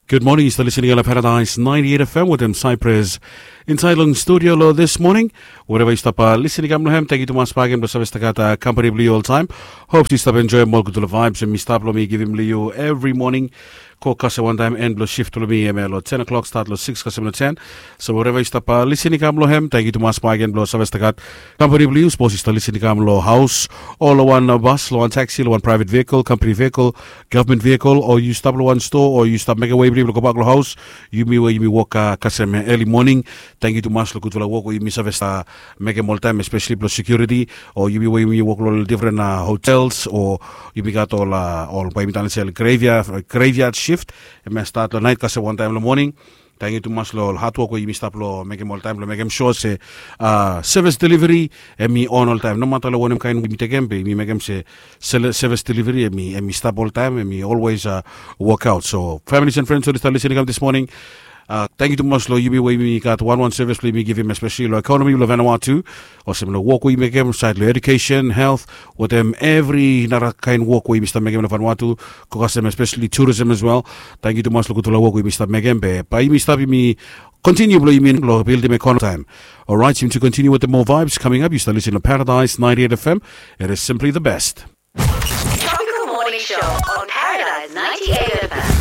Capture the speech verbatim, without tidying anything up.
Gud moning, yu stap lisin i kam long Paradise ninety eight F M wetem Cyprus. Insaed long studio long this morning, wherever yu stap lisin i kam long hem, tangkiu tumas bakegen blong save stap gat kampani blong yu oltaem. Hopes yu stap enjoem ol gudfala vibes em i stap long mi givim long yu evri moning. Go kasem wantaem en blong shift blong mi em ya long ten o'clock stat long six kasem long ten. So wherever yu stap lisin i kam long hem, tangkiu tumas bakegen blong save stap gat kampani blong yu. Sapos yu stap lisin i kam long haos o long wan bas, long wan taxi, long wan private vehicle, company vehicle, government vehicle, o yu stap long wan stoa o yu stap mekem wei blong yu blong gobak long haos, yumi we yumi wok kasem early morning, tangkiu tumas long gudfala wok we yumi save stap mekem oltaem, especially blong security, o yumi we yumi wok long ol different hotels, o yumi gat ol ol bae yumi talem se ol graveyard shift, em ya stat long naet kasem wantaem long moning. Tangkiu tumas long ol hatwok we yumi stap long mekem oltaem blong mekem sua se sevis deliveri em i on oltaem, nomata long wanem kaen we yumi tekem be yumi mekem se sevis deliveri em i stap oltaem, em i olwes wok aot. So families and friends we oli stap lisin i kam this morning, tangkiu tumas long yumi we yumi gat wanwan sevis blong yumi givim, especially long ekonomi blong Vanuatu, olsem long wok we yumi mekem saed long edukesen, helt, wetem evri nara kaen wok we yumi stap mekem long Vanuatu, go kasem especially tourism as well. Tangkiu tumas long gudfala wok we yumi stap mekem be bae yumi stap yumi kontiniu blong yumi long bildim ekonomi taem. Orait, yumi tu kontiniu wetem moa vibes coming up. Yu stap lisin long Paradise ninety eight F M. It is simply the best. Tropical Morning Show on Paradise ninety eight F M.